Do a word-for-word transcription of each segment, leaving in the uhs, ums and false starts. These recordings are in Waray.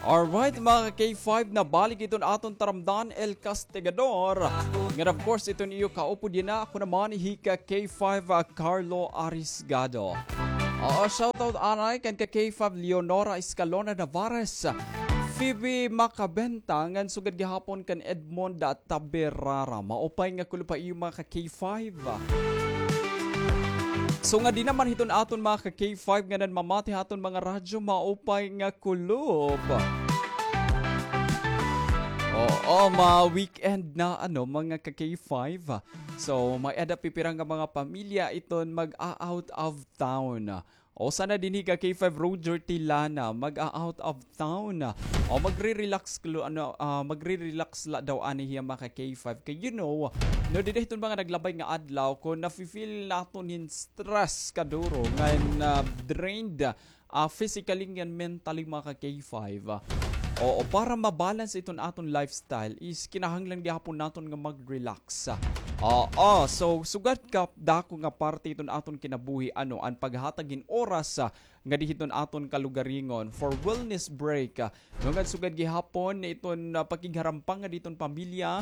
Alright, mga ka-K five, nabalik iton aton taramdan, El Castigador. Ngan, of course, iton iyo kaupod yana, ako naman, hi ka-K five, ah, Carlo Arisgado. Oo, shoutout anay kan ka-K five Leonora Escalona Navarez, Phoebe Macabenta, ngan sugad gihapon kan Edmond Taberara. Maupay nga kulop ha iyo, mga ka-K five. So, ngadi naman hiton aton mga ka-K five nga nanmamati ha aton mga radyo, maupay nga kulop. Oo, ma-weekend na, ano, mga ka-K five. So, may-ada pipira nga mga pamilya iton mag-a-out of town. O, sana dinhi ka-K five Roger Tilana, mag-a-out of town. O, magre-relax klo-, ano, ah, magre-relax la daw ani hiya, mga ka-K five. Kay, you know, no, dida hiton mga naglabay nga adlaw, kon nafi-feel naton hin stress kaduro, ngan, ah, drained, ah, physically ngan mentally, mga ka-K five. Oo, para ma-balance iton aton lifestyle is kinahanglan gihapon naton nga mag-relax. Oo, so sugad ka dako nga parte iton aton kinabuhi, ano, an paghatag hin oras, ah, ngadi hiton aton kalugaringon for wellness break, ah, no, ngan sugad gihapon iton, ah, pakigharumpa ngadi hiton pamilya,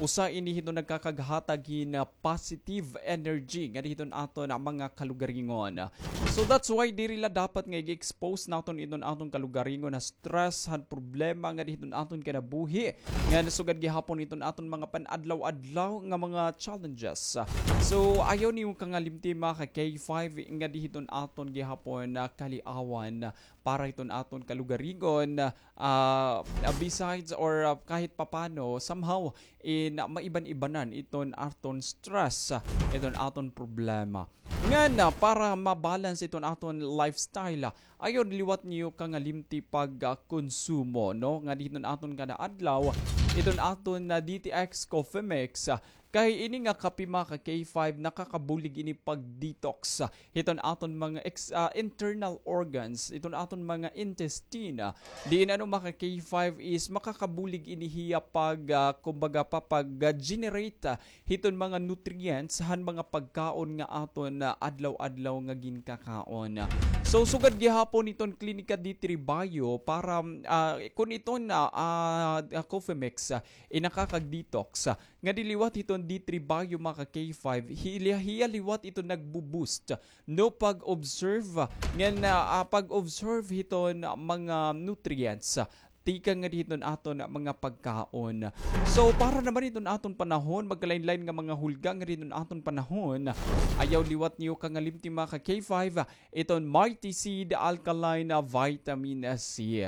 usa ini hiton nagkakaghatag hin, ah, positive energy ngadi hiton aton, ah, mga kalugaringon. So that's why diri la dapat nga i-expose naton iton aton kalugaringon ha stress, han problema ngadi hiton aton kinabuhi, ngan sugad gihapon iton aton mga pan-adlaw-adlaw nga mga challenges. So, ayaw niyo kangalimti, mga ka-K five, ngadi hiton aton gihapon na kaliawan para hiton aton kalugaringon, ah, besides or, ah, kahit papano, somehow, in, ah, maiban-ibanan iton aton stress, ah, iton aton problema. Ngan, ah, para ma-balance iton aton lifestyle, ah, ayaw liwat niyo kangalimti pag, ah, konsumo, no? Ngadi hiton aton kada adlaw, iton aton na D T X Coffee Mix, ah, kay ini nga kape, mga ka-K five, nakakabulig ini pag-detox, ah, hiton aton mga ex-, ah, internal organs, iton aton mga intestine, ah. Diin, ano, mga ka-K five, is makakabulig ini hiya pag, ah, kumbaga pa, pag-generate, ah, hiton mga nutrients han mga pagkaon nga aton, ah, adlaw-adlaw nga ginkakaon. So, sugad gihapon hiton Klinika D three Bio para, ah, kun iton, ah, ah, ah, coffee mix, ah, inakakag-detox, ah, ngadi liwat hiton D three Bio, mga ka-K five, hiya, hiya liwat iton nagbo-boost, no, pag-observe, ngan, ah, ah, pag-observe hiton mga nutrients, ah, tikang ngadi hiton aton mga pagkaon. So, para naman hiton aton panahon, magkalain-lain nga mga hulga ngadi hiton aton panahon, ayaw liwat niyo kangalimti, mga ka-K five, iton Mighty Seed Alkaline Vitamin C.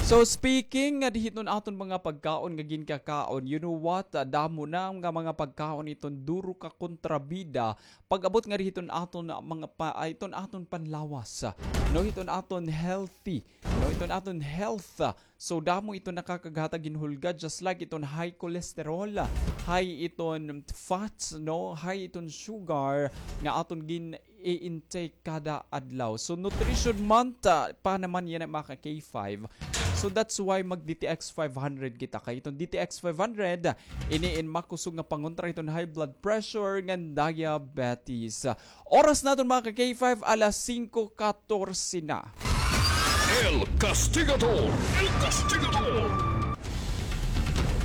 So, speaking ngadi hiton aton mga pagkaon nga ginkakaon, you know what? Ah, damo na nga mga pagkaon iton duro ka kontrabida pag-abot ngadi hiton aton mga pa-, ah, iton aton panlawas, ah, no, hiton aton healthy, no, hiton aton health, ah. So, damo iton nakakaghatag hin hulga, just like iton high cholesterol, ah, high iton fats, no, high iton sugar nga aton gin-i-intake kada adlaw. So, Nutrition Month, ah, pa naman yana, mga ka-K five. So, that's why mag-D T X five hundred kita. Kay iton D T X five hundred, ah, ini in makusog nga pangontra hiton high blood pressure ngan diabetes. Oras naton, mga ka-K five, alas singko katorse na. El Castigador! El Castigador!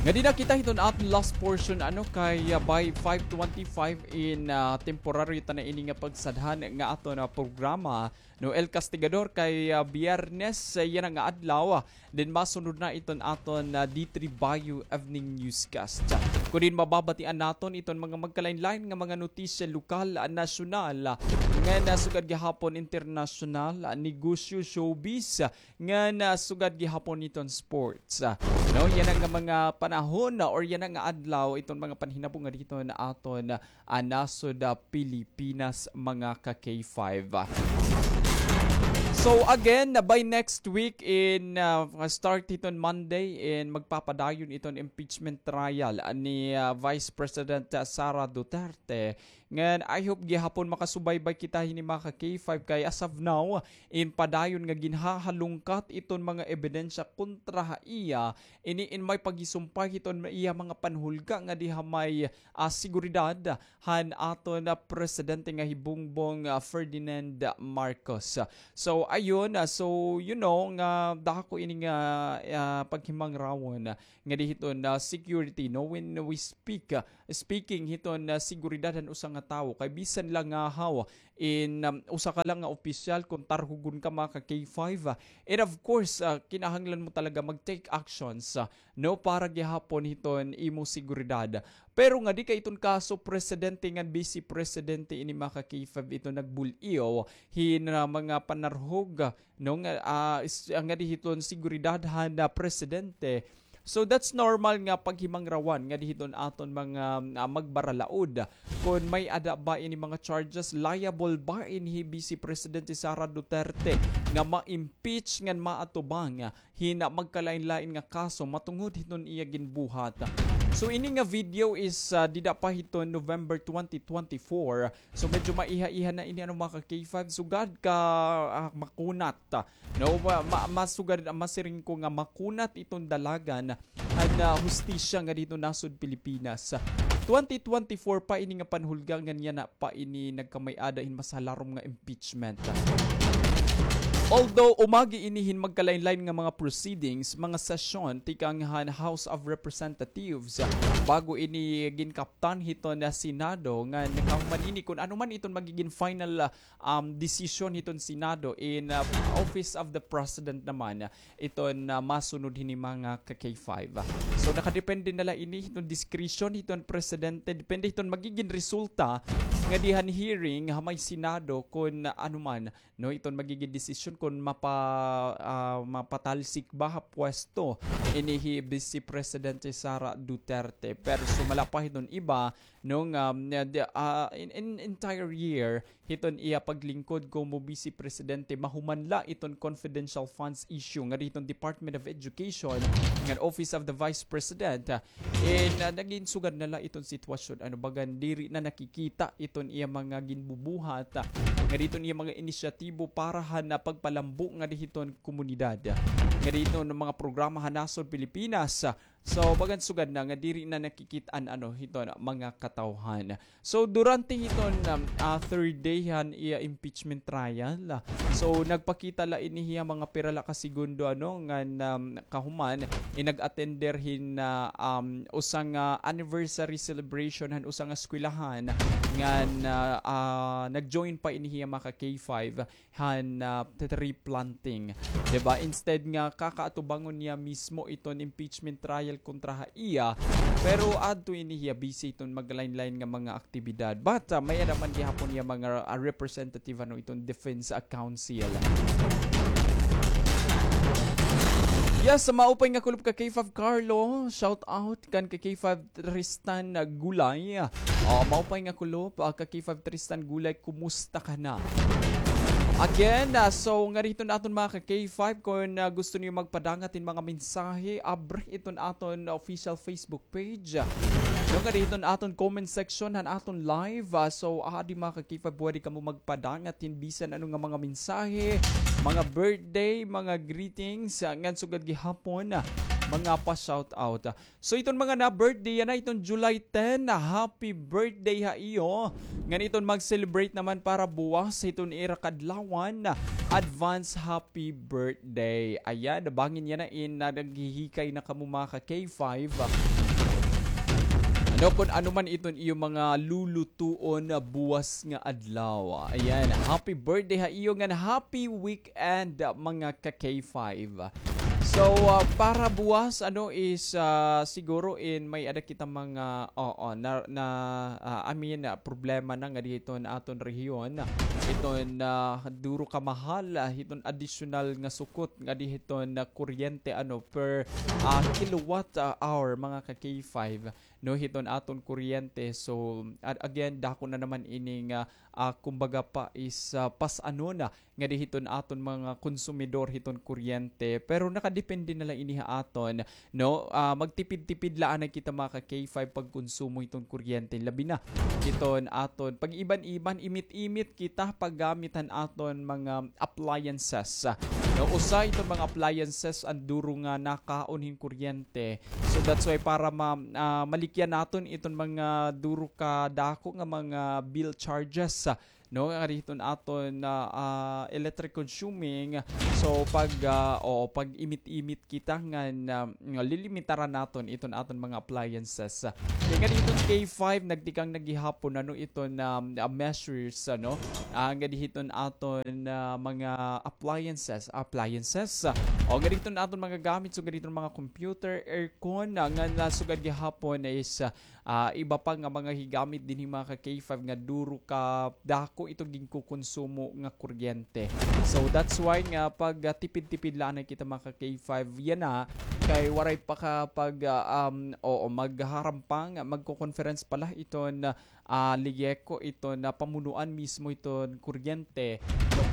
Ngadi na kita hiton aton last portion, ano, kay, ah, by five twenty-five in, ah, temporary ta na ini nga pagsadhan nga aton, ah, programa. No, El Castigador, kay, ah, Biyernes, ah, yana nga adlaw, ah, then masunod na iton aton, ah, D three Bio Evening Newscast. Kun diin mababatian naton iton mga magkalain-lain nga mga notisya lokal, ah, nasyonal, ah, ngan, ah, sugad gihapon internasyonal, ah, negosyo, showbiz, ah, ngan, ah, sugad gihapon iton sports. Ah, no, yana nga mga panahon, ah, or yana nga adlaw, iton mga panhinabo ngadi hiton aton, ah, ah, nasod, ah, Pilipinas, mga ka-K five. So again, by next week in, ah, start hiton Monday, in magpapadayon iton impeachment trial ni, ah, Vice President, ah, Sara Duterte. Ngan I hope gihapon makasubaybay kita hini, mga ka-K five, kay as of now, in padayon nga ginhahalungkat iton mga ebidensya kontra ha iya, ini in may paghisumpay hiton iya mga panhulga ngadi ha may, ah, seguridad han aton, ah, presidente nga hi Bongbong, ah, Ferdinand Marcos. So, Ayun, ah, so, you know, nga dako ini nga, ah, paghimangrawon, ah, nga di hiton, ah, security, no? When we speak, ah, speaking hiton, ah, seguridad han usa nga tawo, kay bisan la ngahaw in, um, usa ka la nga opisyal, kon tarhugon ka, mga ka K five, ah, and of course, ah, kinahanglan mo talaga mag-take actions, ah, no, para gihapon hiton imo seguridad. Pero ngadi kay iton kaso presidente ngan vice presidente ini, mga ka K five, iton nagbul-iw hin, ah, mga panarhog, no, nga, ah, is-, ah, ngadi hiton seguridad han, ah, presidente. So that's normal nga paghimangrawan ngadi hiton aton mga, ah, magbaralaod kon may-ada ba ini mga charges, liable ba ini hi Vice Presidente Sara Duterte nga ma-impeach ngan maatubang hin magkalain-lain nga kaso matungod hiton iya ginbuhat. So ini nga video is, ah, dida pa hiton November twenty twenty-four. So medyo maiha-iha na ini, ano, mga ka K five. Sugad ka, ah, makunat, ah, no, ma-, ma-, masugad, ah, masiring ko nga makunat iton dalagan han, ah, hustisya ngadi hiton nasod Pilipinas. Twenty twenty-four pa ini nga panhulga ngan yana pa ini nagkamay-ada hin mas halarom nga impeachment. Although umagi ini hin magkalain-lain nga mga proceedings, mga sesyon tikang han House of Representatives, bago ini ginkaptan hiton Senado, ngan kahuman ini kon ano man iton magigin final, ah, um, desisyon hiton Senado in, ah, Office of the President naman, iton, ah, masunod hini, mga ka K five. So nakadepende na la ini hiton discretion hiton presidente, depende hiton magigin resulta ngadi han hearing ha may Senado kon ano man, no, iton magigin desisyon kon mapa-, ah, mapatalsik ba ha pwesto ini hi Vice Presidente Sara Duterte. Pero sumala pa hiton iba, no, nga, um, na-, di-, ah, in, in entire year hiton iya paglingkod komo Vice Presidente, mahuman la iton confidential funds issue ngadi hiton Department of Education ngan Office of the Vice President, ah, in, ah, nagin sugad na la iton sitwasyon, ano, bagan diri na nakikita iton iya mga ginbubuhat, ah, ngadi hiton iya mga inisyatibo para han, ah, pagpalambo ngadi hiton komunidad, ah, ngadi hiton mga programa han nasod Pilipinas, ah. So bagan sugad na nga diri na nakikit-an, ano, hiton mga katawhan. So durante hiton, um, ah, third day han iya impeachment trial, ah, so nagpakita la ini hiya mga pira la ka segundo, ano, ngan, um, kahuman, in nag-attender hin, ah, um, usa nga anniversary celebration han usa nga eskwelahan, ngan, ah, ah, nag-join pa ini hiya, mga ka K five, han, ah, tree planting. Di ba? Instead nga kakaatubangon niya mismo iton impeachment trial kontra ha iya, pero adto ini hiya busy iton maglain-lain nga mga aktibidad. But, ah, may-ada man gihapon hiya mga, ah, representative, ano, iton Defense, ah, Council. Yes, maupay nga kulop ka K five Carlo. Shout out kan ka K five Tristan Gulay. Ah, maupay nga kulop, ah, ka K five Tristan Gulay, kumusta ka na? Again, ah, so ngadi hiton aton mga ka K five, kon, ah, gusto niyo magpadangat hin mga mensahe, abri iton aton official Facebook page. No, ngadi hiton aton comment section han aton live. Ah, so, ah, adi, mga ka K five, pwede kamo magpadangat hin bisan ano nga mga mensahe, mga birthday, mga greetings, ah, ngan sugad gihapon, ah, mga pa-shout out. So iton mga na-birthday yana iton July ten, happy birthday ha iyo. Ngan iton mag-celebrate naman para buwas hiton ira kadlawan, advance happy birthday. Ayan, bangin yana in, ah, naghihikay na kamo, mga ka K five. Ano, kon ano man iton iyo mga lulutuon buwas nga adlaw. Ayan, happy birthday ha iyo ngan happy weekend, mga ka K five. So, ah, para buwas, ano, is, ah, siguro in may-ada kita mga, oo, na, na, ah, I mean, ah, problema na ngadi hiton aton rehiyon. Iton, ah, duro ka mahal, ah, hiton additional nga sukot ngadi hiton, ah, kuryente, ano, per, ah, kilowatt, ah, hour, mga ka K five, no, hiton aton kuryente. So, a-, again, dako na naman ini nga, ah, kumbaga pa is, ah, pas-anon na ngadi hiton aton mga konsumidor hiton kuryente. Pero nakadepende na la ini ha aton, no? Ah, magtipid-tipid la anay kita, mga ka K five, pagkonsumo hiton kuryente. Labi na hiton aton pag-iban-iban, imit-imit kita paggamit han aton mga appliances. No, usa hiton mga appliances an duro nga nakaon hin kuryente. So that's why para ma-, ah, malikyan naton iton mga duro ka dako nga mga bill charges, ah, no, nga hiton aton, ah, ah, electric consuming. So, pag, ah, o, pag-imit-imit kita ngan, ah, nga lilimitaran naton iton aton mga appliances. Kay ngadi hiton K five, nagtikang na gihapon, ano, iton, ah, ah, measures, ano, ah, ngadi hiton aton, ah, mga appliances, appliances. O, ngadi hiton aton mga gamit, so ngadi hiton mga computer, aircon, ah, ngan, ah, sugad gihapon is, ah, ah, iba pa nga mga higamit dinhi, mga ka-K five, nga duro ka dako ito ginkukonsumo nga kuryente. So, that's why nga pag, ah, tipid-tipid la anay kita, mga ka-K five, yana, kay waray pa ka pag, ah, um, oo, maghaharampang, magko-conference pala iton, ah, LIECO, iton, ah, pamunuan mismo iton kuryente.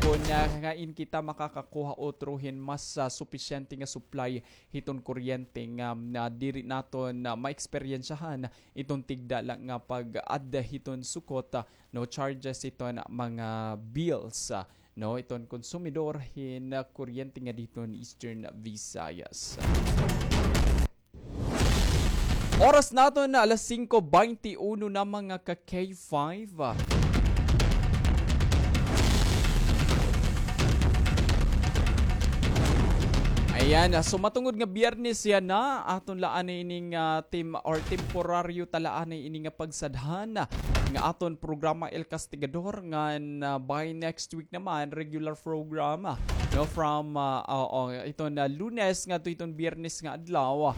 Kon, ah, ngain kita makakakuha utro hin mas, ah, supisyente nga supply hiton kuryente nga, ah, diri naton, ah, maeksperiensyahan iton tigda la nga pag-add hiton sukot, ah, no, charges hiton mga bills, ah, no, iton konsumidor hin, ah, kuryente ngadi hiton Eastern Visayas. Oras naton na alas singko baynte uno na, mga ka-K five. Ayan, ah, so matungod nga Biyernes yana, aton la anay ini nga tem-, or temporaryo ta la anay ini nga pagsadhan nga aton programa El Castigador, ngan, ah, by next week naman, regular program, ah, no, from, ah, oo, iton, ah, Lunes ngadto hiton Biyernes nga adlaw,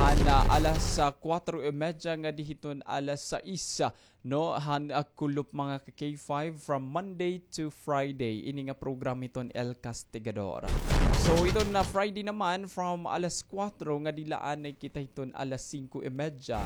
han, ah, alas, ah, kuwatro y medya ngadi hiton alas sais, ah, no, han, ah, kulop, mga ka-K five, from Monday to Friday, ini nga program hiton El Castigador. So, iton, ah, Friday naman, from alas kuwatro ngadi la anay kita hiton alas singko y medya.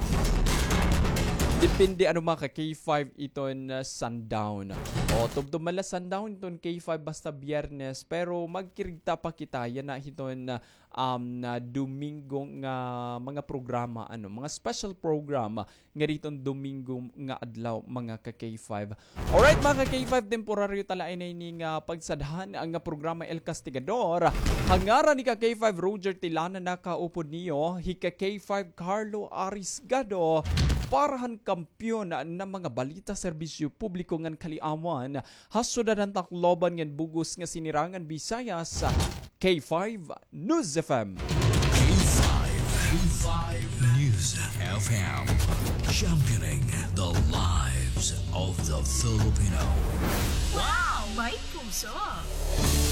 Depende, ano, mga ka-K five, iton, ah, sundown. O, tubtob man la sundown iton K five basta Biyernes, pero magkirigta pa kita yana hiton, ah, um, na Domingo nga mga programa, ano, mga special program ngadi hiton Domingo nga adlaw, mga ka-K five. Alright, mga ka-K five, temporaryo ta la anay ini nga pagsadhan nga programa El Castigador. Ha ngaran ni ka-K five Roger Tilana, nakaupod niyo hi ka-K five Carlo Arisgado para han kampiyon na mga balita, serbisyo publiko ngan kaliawan ha syudad han Tacloban ngan bug-os nga sinirangan Visayas, K five News F M. K five, K five News F M, championing the lives of the Filipino. Wow! May puso!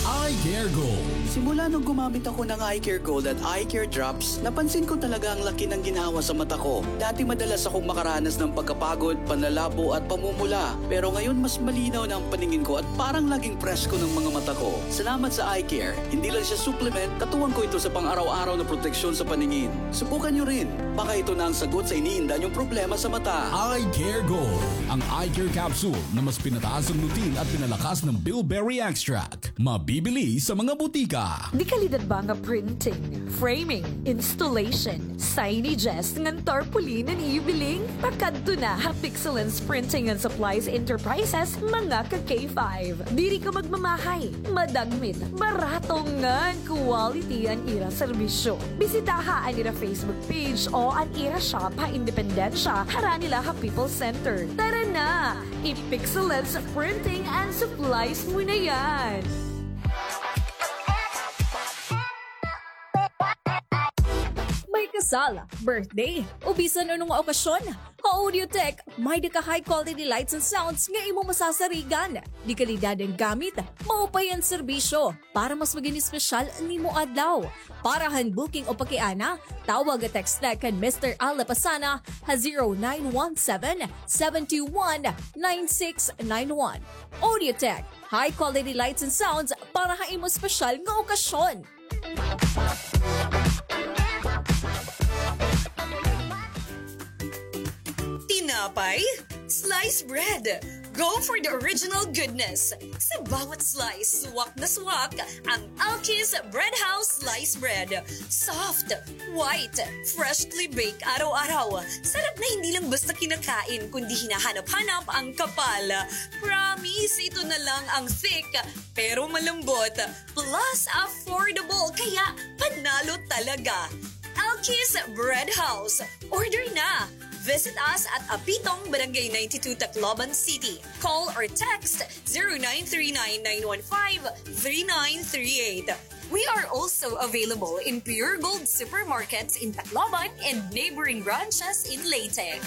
Eye Care Gold. Simula nung gumamit ako ng Eye Care Gold at Eye Care Drops, napansin ko talaga ang laki ng ginhawa sa mata ko. Dati madalas akong makaranas ng pagkapagod, panlalabo at pamumula. Pero ngayon mas malinaw na ang paningin ko at parang laging presko ng mga mata ko. Salamat sa Eye Care. Hindi lang siya supplement, katuwang ko ito sa pang-araw-araw na proteksyon sa paningin. Subukan niyo rin. Baka ito na ang sagot sa iniinda niyong problema sa mata. Eye Care Gold, ang eye care capsule na mas pinataas ang lutein at pinalakas ng bilberry extract. Mabibili sa mga butika. De kalidad ba nga printing, framing, installation, signages ngan tarpaulin an ibiling? Pakadto na ha Pixelens Printing and Supplies Enterprises, mga ka-K five. Diri ka magmamahay, madagmit, barato ngan quality an ira serbisyo. Bisitaha an ira Facebook page o an ira shop ha Independencia, harani la ha People's Center. Tara na! I-Pixelens Printing and Supplies mo na yan! May kasal, birthday, o bisan ano nga okasyon, ha Audiotech, may-ada ka high quality lights and sounds nga imo masasarigan. De kalidad an gamit, maupay an serbisyo, para mas magin espesyal an imo adlaw. Para han booking o pakiana, tawag o text la kan Mister Al Lapasana ha zero nine one seven, seven two one, nine six nine one. Audiotech, high quality lights and sounds para ha imo espesyal nga okasyon. Tinapay, slice bread. Go for the original goodness. Sa bawat slice, swak na swak ang Alki's Bread House Slice Bread. Soft, white, freshly baked araw-araw. Sarap na hindi lang basta kinakain, kundi hinahanap-hanap ang kapal. Promise, ito na lang ang thick, pero malambot. Plus, affordable, kaya panalo talaga. Alki's Bread House. Order na! Visit us at Apitong, Barangay ninety-two, Tacloban City. Call or text zero nine three nine nine one five three nine three eight. We are also available in Pure Gold supermarkets in Tacloban and neighboring branches in Leyte.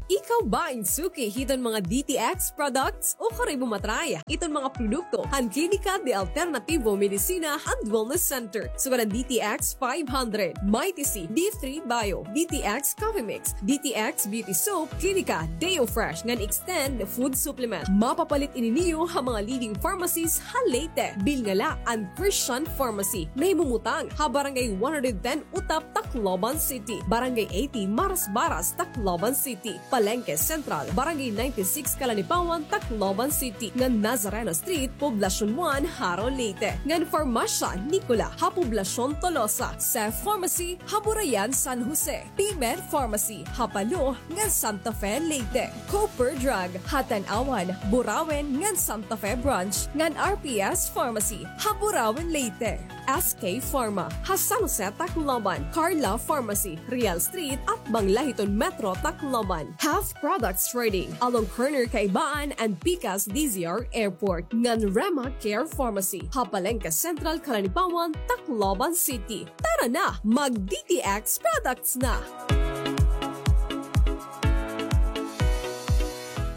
Ikaw ba in suki hiton mga D T X products? Ukon imo matry iton mga produkto han Klinika de Alternativo Medicina and Wellness Center, sugad han D T X five hundred, Mighty C, D three Bio, D T X Coffee Mix, D T X Beauty Soap, Klinika Deo Fresh ngan Extend Food Supplement. Mapapalit ini niyo ha mga leading pharmacies ha Leyte, bilnga la an Christian Pharmacy. Nahimumutang ha Barangay one hundred ten Utap, Tacloban City, Barangay eighty Marasbaras, Tacloban City, Palengke Central, Barangay ninety-six Kalanipawan, Tacloban City, ngan Nazareno Street, Poblacion one, Jaro, Leyte, ngan Farmasya Nicola ha Poblacion Tolosa, Seth Pharmacy ha Burayan, San Jose, P-Med Pharmacy ha Palo ngan Santa Fe, Leyte, Cooper Drug ha Tanauan, Burauen ngan Santa Fe Branch, ngan R P S Pharmacy ha Burauen, Leyte. S K Pharma ha San Jose, Tacloban, Carla Pharmacy, Real Street, atbang la hiton Metro Tacloban, Health Products Trading along corner Kaibaan and Pikas D Z R Airport, ngan Rema Care Pharmacy ha Palengke Central, Kalanipawan, Tacloban City. Tara na, mag D T X products na!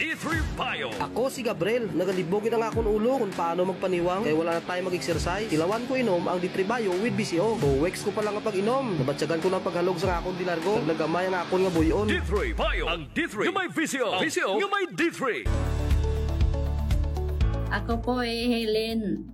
D three Bio. Ako si Gabriel. Nagalibog gid an akon ulo kon paano magpaniwang kay wala na tayo mag-exercise. Tilawan ko inom ang D three Bio with V C O. Two weeks ko pa la nga pag-inom, nabatyagan ko na an paghalog sa akon dilargo. Nagnagamay an akon nga buy-on. D three Bio. Ang D three nga may V C O. V C O nga may D three. Ako po hi Helen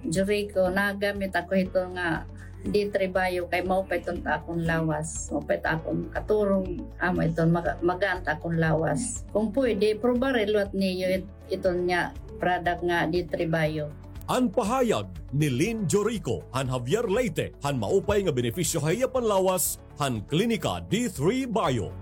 Jurico, nagamit ako hito nga D three Bio kay maupay iton ha akon lawas. Maupay it akon katurog, amo iton maga-, magaan it akon lawas. Kon pwede, prubahi liwat niyo it-, iton nga product nga D three Bio. An pahayag ni Lynn Jorico han Javier, Leyte, han maupay nga benepisyo ha iya panlawas han Klinika D three Bio.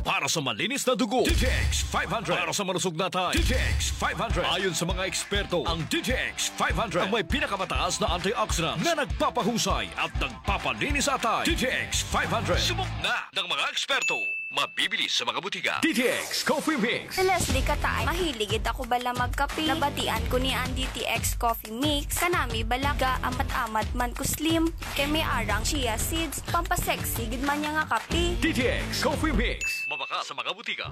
Para sa malinis na dugo, D T X five hundred. Para sa malusog na atay, D T X five hundred. Ayon sa mga eksperto, ang D T X five hundred ang may pinakamataas na antioxidants na nagpapahusay at nagpapalinis sa atay. D T X five hundred. Subok na ng mga eksperto. Mabibili sa mga butika. D T X Coffee Mix. Si Leslie Kataay, mahilig gid ako bala magkape. Nabatian ko niya an D T X Coffee Mix. Kanami bala, gaamat-amat man ko slim. Kay may ara an chia seeds, pampasexy gid man niya nga kape. D T X Coffee Mix. Mabaka sa mga butika.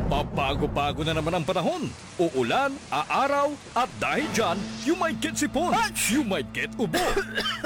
Pabago-bago na naman ang panahon. Uulan, aaraw, at dahil dyan, you might get sipon, you might get ubo,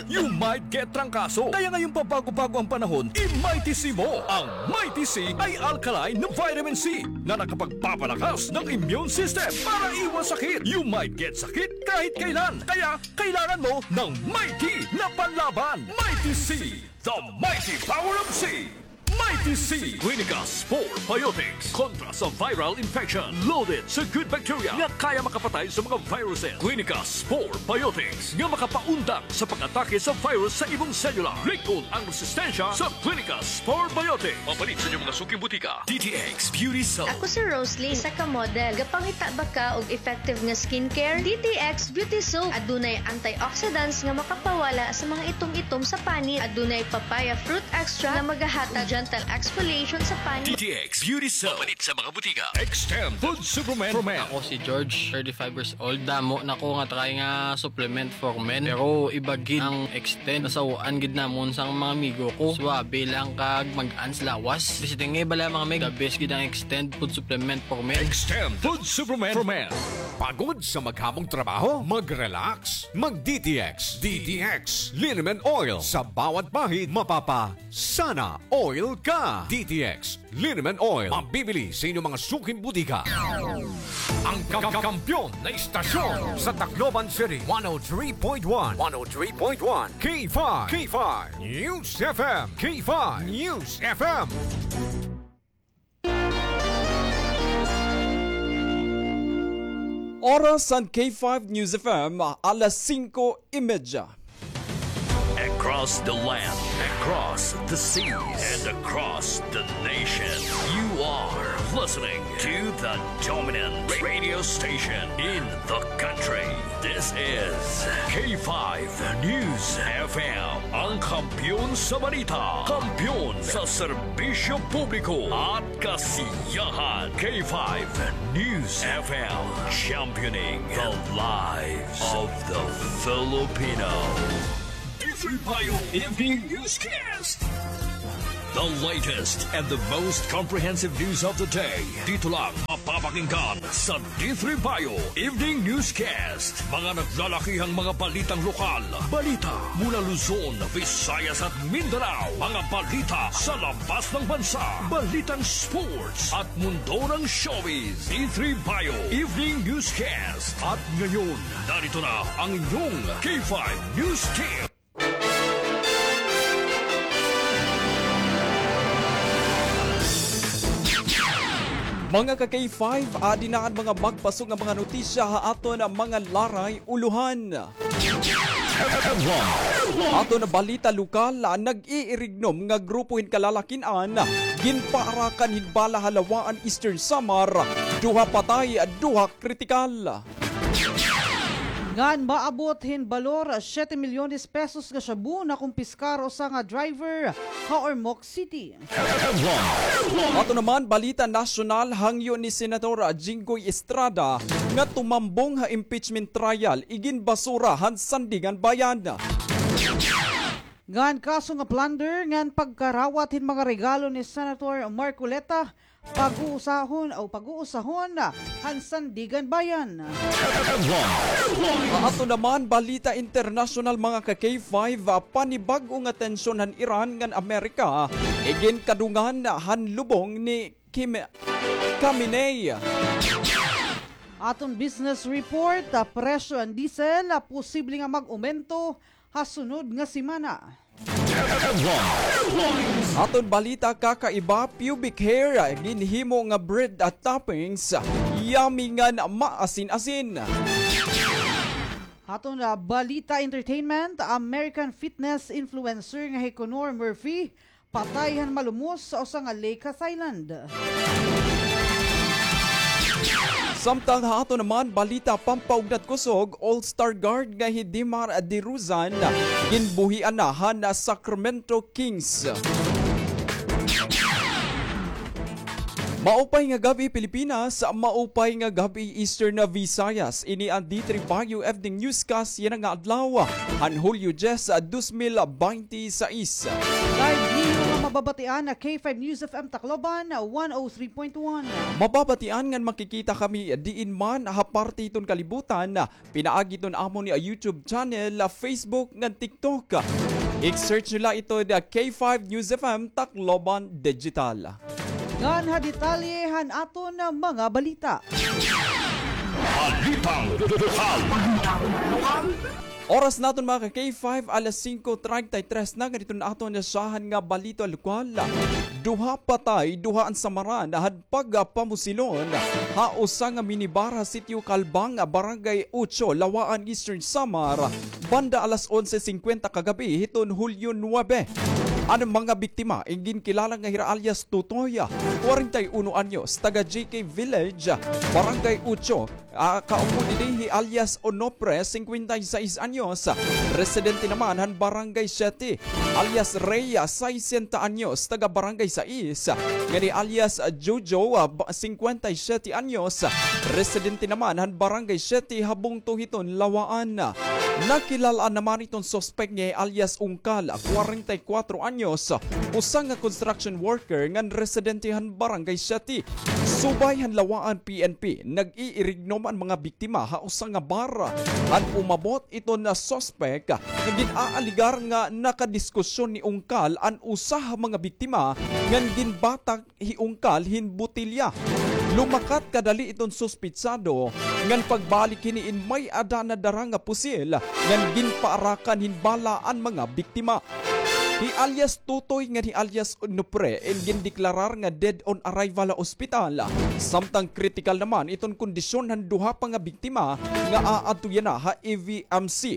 you might get trangkaso. Kaya ngayong pabago-bago ang panahon, i-Mighty C mo. Ang Mighty C ay alkaline na vitamin C na nakapagpapalakas ng immune system para iwas sakit. You might get sakit kahit kailan. Kaya kailangan mo ng Mighty na panlaban. Mighty C, the mighty power of C. Mighty C. Clinica Spore Biotics kontra sa viral infection. Loaded sa good bacteria nga kaya makapatay sa mga viruses. Clinica Spore Biotics nga makapaundang sa pag-atake sa virus sa imong selula. Lig-on ang resistensya sa Clinica Spore Biotics. Mapalit sa inyong mga suking butika. D T X Beauty Soap. Ako si Rosalie, isa ka model. Gapangita ba ka og effective nga skincare? D T X Beauty Soap. Adunay antioxidants nga makapawala sa mga itom-itom sa panit. Adunay papaya fruit extract nga magahatag gentle exfoliation sa panit. D T X Beauty Soap. Mapalit sa mga butika. Extend Food Supplement for Men. Ako si George, thirty-five years old. Damo na ko nga try nga supplement for men. Pero iba gid ang Extend. Nasaw-an gid namon sang mga amigo ko. Suabe lang kag mag-ans lawas. Basta nga bala mga meg, the best gid ang Extend Food Supplement for Men. Extend Food Supplement for Men. Pagod sa maghamong trabaho? Mag-relax. Mag-D T X. D T X Liniment Oil. Sa bawat bahid, mapapa-Sana Oil ka. D T X Liniment Oil. Mabibili sa inyong mga suking butika. Ang ka-, ka-, kampiyon na istasyon sa Tacloban City, one oh three point one, one oh three point one, K five, K five News F M, K five News F M. Oras han K five News F M, alas singko y media. Across the land, across the seas, and across the nation, you are Listening to the dominant radio station in the country. This is K five News F M, ang kampiyon sa balita, kampiyon sa serbisyo publiko at kasiyahan. K five News F M, championing the lives of the Filipino. D three Bio Evening Newscast. The latest and the most comprehensive news of the day. Dito lang mapapakinggan sa D three Bio Evening Newscast. Mga naglalakihang mga balitang lokal. Balita mula Luzon, Visayas at Mindanao. Mga balita sa labas ng bansa. Balitang sports at mundo ng showbiz. D three Bio Evening Newscast. At ngayon, narito na ang inyong K five News Team. Mga ka-K five, adi na an mga magpaso nga mga notisya ha aton mga laray ulohan. Aton balita lokal, nag-iirignom nga grupo hin kalalakin-an, ginpaarakan hin bala ha Lawaan, Eastern Samar, duha patay, duha kritikal. Ngan maabot hin balor siyete milyones pesos nga shabu nakumpiskar usa nga driver ha Ormoc City. Ato naman balita nasyonal, hangyo ni Senator Jinggoy Estrada nga tumambong ha impeachment trial, iginbasura han Sandiganbayan. Ngan kaso nga plunder ngan pagkarawat hin mga regalo ni Senator Marcoleta, pag-uusahon o pag-uusahon han Sandiganbayan. Ato naman balita internasyonal, mga ka-K five, ah, panibag-o nga tensyon han Iran ngan Amerika, iginkadungan han lubong ni Kim-, Khamenei. Aton business report, ah, presyo han diesel, ah, posible nga mag-umento ha sunod nga semana. Aton balita kakaiba, pubic hair, ginhimo nga bread at toppings, yummy ngan maasin-asin. Aton, ah, balita entertainment, American fitness influencer nga hi Connor Murphy, patay han malumos sa usa nga lake ha Thailand. Samtang ha ato naman balita pampaugnat kusog, All-Star guard nga hi Demar Derozan, ginbuhian na han Sacramento Kings. Maupay nga gab-i, Pilipinas. Maupay nga gab-i, Eastern Visayas. Ini an D three Bayo Evening Newscast yana nga adlaw, han Hulyo dyes, dos mil baynte sais. Live niyo nga mababatian na K five News F M Tacloban, one oh three point one. Mababatian ngan makikita kami diin man ha parte hiton kalibutan, pinaagi hiton amon nga YouTube channel, Facebook ngan TikTok. I-search niyo la ito nga K five News F M Tacloban Digital. Ngan ha detalye han aton mga balita. Balitang lokal. Oras naton, mga ka-K five, alas singko treinta y tres na. Ngan iton aton nasyahan nga balita lokal. Duha patay, duha an samaran han pagpamusilon ha usa nga minibar ha Sitio Calbang, Barangay Ocho, Lawaan, Eastern Samar, banda alas onse singkwenta kagab-i hiton Hulyo nuwebe. An mga biktima, iginkilala nga hira alias Tutoy, kwarenta y uno anyos, taga J K Village, Barangay Ocho, ah, kaupo dinhi hi alias Onofre, singkwenta y sais anyos, residente naman han Barangay Siete, alias Rhea, saysenta anyos, taga Barangay Sais, ngan hi alias Jojo, ah, ba-, singkwenta y siyete anyos, residente naman han Barangay Siete ha bungto hiton Lawaan. Nakilal-an naman iton suspek nga hi alias Ungkal, kwarenta y kwatro anyos, usa nga construction worker ngan residente han Barangay Siete. Subay han Lawaan P N P, nag-iirignom an mga biktima ha usa nga bar. Han umabot iton suspek, nga gin-aalegar nga nakadiskusyon ni Ungkal an usa ha mga biktima ngan ginbatak hi Ungkal hin botelya. Lumakat kadali iton suspetsado, ngan pagbalik hini in may-ada na dara nga pusil, ngan ginpaarakan hin bala an mga biktima. Hi alias Tutoy ngan hi alias Nupre in gindeklarar nga dead on arrival ha ospital. Samtang kritikal naman iton kondisyon han duha pa nga biktima nga aadto yana ha E V M C.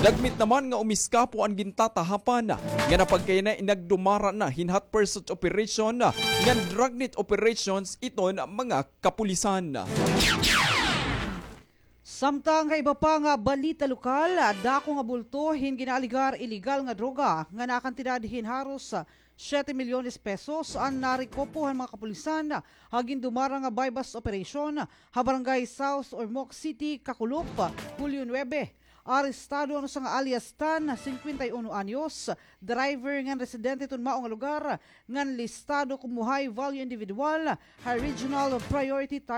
Dagmit naman nga umiskapo an gintatahapan nga napagkayana in nagdumara na hin hot pursuit operation ngan dragnet operations iton mga kapulisan. Samtang ha iba pa nga balita lokal, dako nga bulto hin ginaaligar iligal nga droga nga nakantidad hin haros siyete milyones pesos an narekupo han mga kapulisan ha gindumara nga buy-bust operation ha Barangay South Ormoc City, Kakulop, Hulyo nuebe. Arestado an usa nga alias Tan, singkwenta y uno anyos, driver ngan residente iton mao nga lugar, ngan listado komo high value individual ha Regional Priority